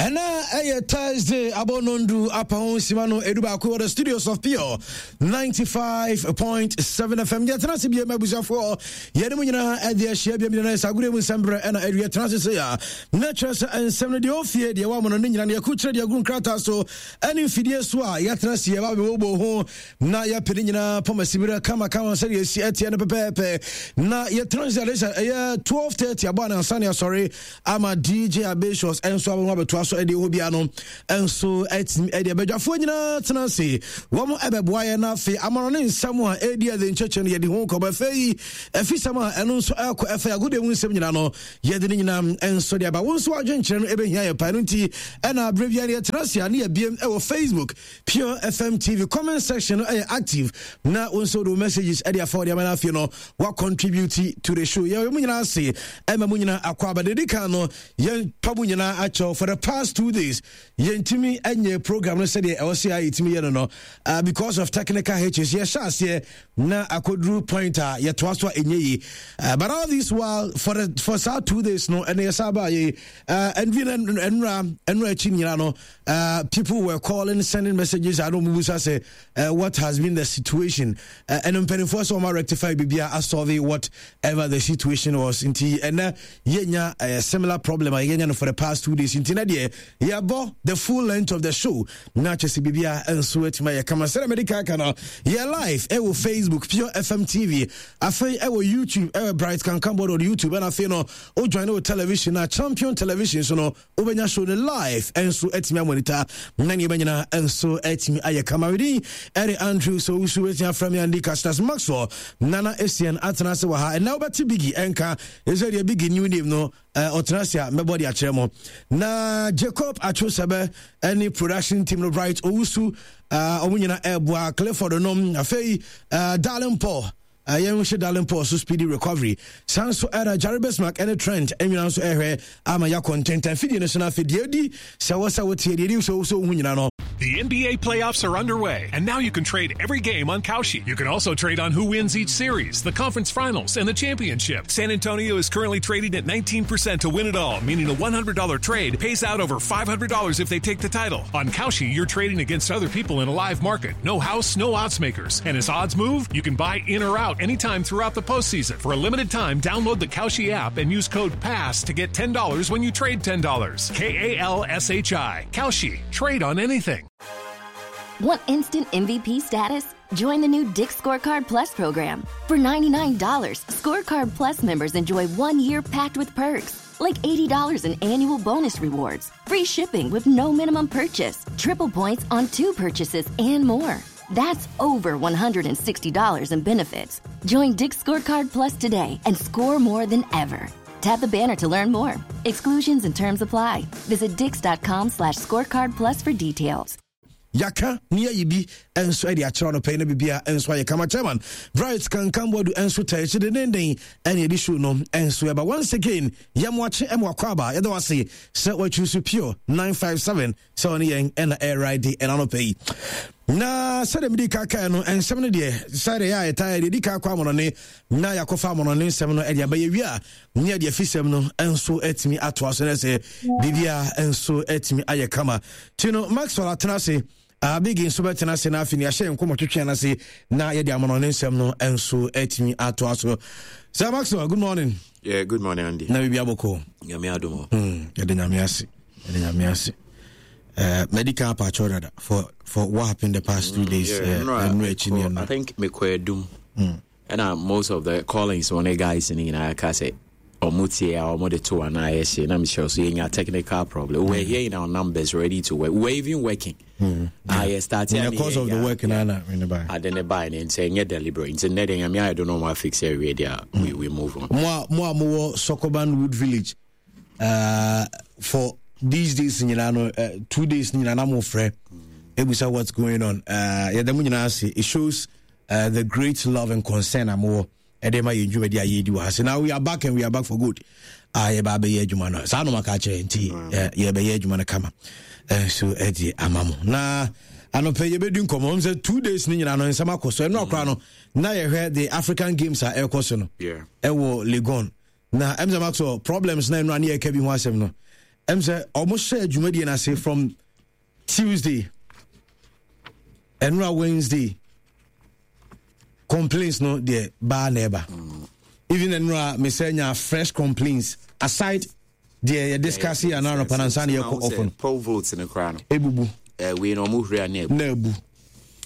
Ɛna ɛyɛ Thursday abɔ nondu apa ho nsima no edu baako wɔ the studios of Pure 95.7 FM. Yɛtena ase bie ma abusuafoɔ yɛne mu nyinaa ɛde ahyia bia nyinaa sɛ agodeɛ mu nsɛm berɛ ɛna ɛde yɛtena ase sɛ a na kyerɛ sɛ nsɛm no deɛ ɔfie deɛ ɛwɔ amono no nyinaa no yɛko kyerɛ deɛ agu nkrataa so ɛne mfidie so a yɛtena ase yɛba bɛbɔbɔ ho na yɛpɛ ne nyinaa pɔm asiberɛ kamakama sɛdeɛ ɛsi ɛteɛ no pɛpɛɛpɛ na yɛtena ase ade sɛ ɛyɛ 12:30 abɔ anansa ne asɔre ama DJ Abatius nso abɛho abɛtoa so ɛdeɛ hɔ bia no nso atumi ɛdeɛ badwafoɔ nyinaa tena ase wɔn ɛbɛboa yɛn na afei amano ne nsɛm a ɛredi ɛde nkyɛkyɛ no yɛde ho nkɔmɔ ɛfɛ yi ɛfisɛm a ɛno nso ɛkɔ ɛfɛ agodeɛ mu nsɛm nyinaa no yɛde ne nyinaa nso de aba wo nso adwenkyerɛ no ɛbɛhia yɛ paa no nti ɛna aberɛ biara yɛtena ase a ne yɛbiem ɛwɔ Facebook Pure FM TV comment section no ɛyɛ active na wo nso de messages ɛde afa wɔde ama no afei no wa contribute to the show yɛwɔ mu nyinaa ase ɛma mu nyinaa akɔ aba dedi kan no yɛn pa mu nyinaa akyɛw for the past 2 days yɛntumi ɛnyɛ program no sɛdeɛ ɛwɔ sɛ a yɛtumi yɛ no no because of technical hitches yɛhyɛ aseɛ na akɔduru point a yɛtoa so a ɛnyɛ yi but all this while for saa 2 days no ɛne yɛsa baa yɛ ɛnvi no ɛnura ɛnura akyi nyinaa no people were calling, sending messages. I don't know say what has been the situation. And mpanimfoɔ sɛ wɔn rectify biribiara asolve whatever the situation was. Nti ɛnɛ yɛnya a similar problem a yɛnya no for the past 2 days. Nti na deɛ yɛbɔ the full length of the show na kyɛ sɛ biribiara nso atumi ayɛ kama. Sɛdeɛ mede kaka no yɛ live ɛwɔ Facebook Pure FM TV, afei ɛwɔ YouTube ɛwɔ Bright Kankanbɔ on YouTube, ɛna afei no o join wɔ television na Champion Television so no wobɛnya show no live ɛnso atumi amonita na nneɛma nyinaa nso atumi ayɛ kama. Wedin ɛde Andrew so wosu bɛtumi afrɛ me Andy Castas Maxwell Nana Asian atena ase wɔ ha. Ɛnɛ wobɛte Biggie ɛnka ɛsɛ deɛ Biggie new name no ɔtena ase a mɛbɔ de akyerɛ mo na Jacob Atwosɛbɛ ɛne production team no Bright Owusu ɔmo nyina ɛboa Clifford nom afei Darling Paul yɛn hyɛ Darling Paul so speedy recovery. San so ɛna Jerry Bismarck ɛne Trent ɛnyina nso ɛhwɛ ama yɛakɔ ntɛntɛn fidie no so no afei deɛ ɛdi sɛ wɔ sɛ woteɛ deɛ ɛdi sɛ wo sɛ wohu nyina no. The NBA playoffs are underway, and now you can trade every game on Kalshi. You can also trade on who wins each series, the conference finals, and the championship. San Antonio is currently trading at 19% to win it all, meaning a $100 trade pays out over $500 if they take the title. On Kalshi, you're trading against other people in a live market. No house, no odds makers. And as odds move, you can buy in or out anytime throughout the postseason. For a limited time, download the Kalshi app and use code PASS to get $10 when you trade $10. Kalshi. Kalshi. Trade on anything. Want instant MVP status? Join the new Dick's Scorecard Plus program. For $99, Scorecard Plus members enjoy 1 year packed with perks, like $80 in annual bonus rewards, free shipping with no minimum purchase, triple points on two purchases, and more. That's over $160 in benefits. Join Dick's Scorecard Plus today and score more than ever. Tap the banner to learn more. Exclusions and terms apply. Visit dicks.com/scorecard plus for details. Yɛaka ne yɛyi bi nso de akyerɛ no pɛi na biribia nso ayɛ kama. Chairman Bright Kankamboadu nso ta akyi dendenden ɛne ɛde show no nso ɛba. Once again, yɛmoakye ɛmo akɔ aba. Yɛda wase sɛ watwi so Pure 957 sɛ ɔne yɛn ɛna ɛride ɛna no pɛ yi na sɛdeɛ mede ka kae no nsɛm no deɛ sɛdeɛ yɛ a yɛtaa deɛ di ka kɔ amonɔne na yɛakɔfa amonɔne nsɛm no ɛde aba. Yɛwie a ne yɛde afisɛm no nso atumi atoa so no sɛ biribia nso atumi ayɛ kama. Nti no Maxwell atena ase, Bigi nso bɛtena ase na afei ne yɛahyɛ nkɔmmɔ twetwe no ase na yɛde amonɔne nsɛm no nso atumi atoa so. Sir Maxwell, good morning. Yeah, good morning, Andy. Na biribi abɔkɔ? Nyame adom. Yɛde Nyame ase, yɛde Nyame ase. Medical apacho dada for what happened the past 2 days. Yeah, no, I think mekɔ adum. Ɛna most of the callings wɔn ne guys no nyinaa ka sɛ ɔmo tie a ɔmo de to anaa ayɛ hye na mehyɛ so yɛnya technical problem. We were here in our numbers, ready to work. We were even working. Ah, yɛ start. In the course of the work na na ne ba ade ne ba ne nti ɛnyɛ deliberate nti nnɛ de Nyame ayɛ do no ɔmo afix awie deɛ we move on. Mo a mowɔ Sokoban Wood Village for these days nyinaa no 2 days nyinaa na mo frɛ ebusa what's going on. Yɛda mo nyinaa ase. It shows the great love and concern a mowɔ ɛde ma yɛn dwumadi a yɛdi wɔ ha. So now we are back and we are back for good. A yɛba abɛyɛ adwuma no saa noma ka kyerɛ nti yɛbɛyɛ adwuma no kama nso ɛde ama mo na anɔpɛ yɛbɛdi nkɔmmɔ m sɛ 2 days no nyinaa no nsɛm akɔ so. Ɛno akora no na yɛhwɛ the African Games a ɛrekɔ so no ɛwɔ Legon na ɛm sɛ Maxwell problems na ɛno a ne yɛka bi ho asɛm no. Ɛm sɛ ɔmo hyɛ dwumadie no ase from Tuesday, ɛnora Wednesday, complaints no deɛ baa na ɛba. Even ɛnora mesɛ nya fresh complaints aside deɛ yɛ discuss yɛ anaa anɔpa nansa na yɛkɔ off no. Poll votes no koraa no. Ebubu. Wei na ɔmo huri a na ebu. Na ebu.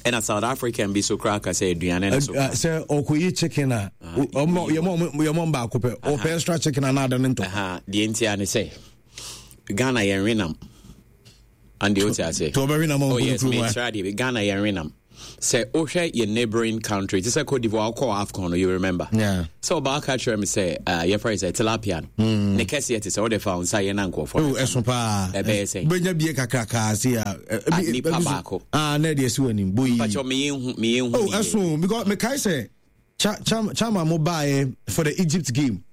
Ɛna South African bi so koraa ka sɛ aduane no so. Sɛ ɔkɔyi chicken a, ɔmo yɛmɔ yɛmɔ baako pɛ, ɔpɛ extra chicken anaa ada ne ntɔ. Deɛ nti a ne sɛ Ghana yɛn wenam. And deɛ wote aseɛ. To ɔbɛwe nam a oh yes, mekyerɛ adeɛ bi. Ghana yɛn wenam. Sɛ wohwɛ yɛn neighboring country, te sɛ Cote d'Ivoire, wokɔɔ AFCON no, you remember? Yeah. Sɛ ɔbaa ka kyerɛ me sɛ, yɛfrɛ sɛ tilapia no. Ne kɛseɛ te sɛ wode fa wo nsa yɛ na nkurɔfoɔ. Oh, ɛso paa. Ɛbɛyɛ sɛ. Bɛnya bie kakrakaa se a. Nipa baako. Ah, na ɛde asi w'anim. Boyi. Mpakyɛ meyɛ hu, meyɛ hu. Oh, ɛso because mekae sɛ cha cha chama mo baeɛ for the Egypt game.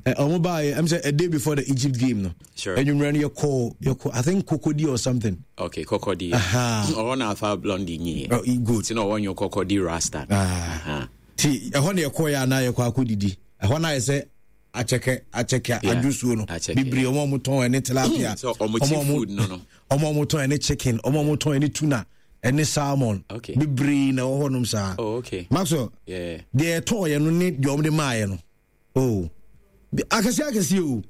Ɔmo baeɛ ɛm sɛ a day before the Egypt game no. Sure. Enyimrɛ no yɛkɔ yɛkɔ, I think, Kokodi or something. Okay, Kokodi. Ɔhɔ na afa blondie nyi. Oh, good. Ti na ɔwɔ nyo Kokodi rasta. Ah. Ti ɛhɔ na yɛkɔ yɛ anaa yɛkɔ akɔdidi. Ɛhɔ na ayɛ sɛ akyɛkɛ akyɛkɛ adwosuo no bebree, ɔmo a ɔmo tɔn ɛne tilapia, ɔmo a ɔmo tɔn ɛne chicken, ɔmo a ɔmo tɔn ɛne tuna ɛne salmon bebree na ɛwɔ hɔnom saa. Oh, okay. Maxwell, deɛ ɛtɔɔ yɛ no ne deɛ ɔmo de maa yɛ no, oh, akɛseɛ akɛseɛ o,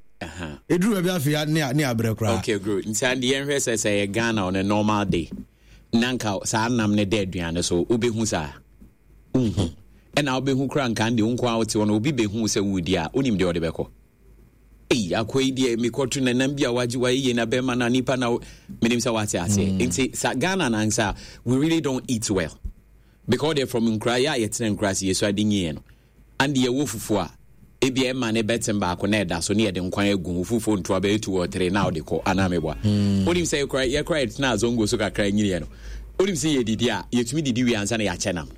ɛduru baabi afei ne abrɛ koraa. Okay, good. Nti ade yɛnhwɛ sɛ yɛ Ghana on a normal day na nka saa nam ne da aduane so, wobɛhu saa? Wonhu. Ɛna wobɛhu koraa nka deɛ wo nko a wote hɔ no, obi bɛhu sɛ woredi a, wonim deɛ ɔde bɛkɔ. Ei, akɔ yi deɛ mekɔto nanam bi a wagye wayɛ yie na bɛrima na nipa na menim sɛ wate aseɛ. Nti sa Ghana nansa, we really don't eat well because they're from nkura yɛ a yɛtena nkura ase yɛsua de nyiɛ no. Ande yɛwɔ fufuo a, ebia ɛma ne bɛtem baako na ɛda so ne yɛde nkwan agu ho, fufuo ntoa bɛyɛ two or three na wode kɔ anaa meboa. Wonim sɛ yɛkora yɛkora yɛtena azongo so kakra nyiniɛ no, wonim sɛ yɛdidi a, yɛtumi didi wie ansa na yɛakyɛ nam.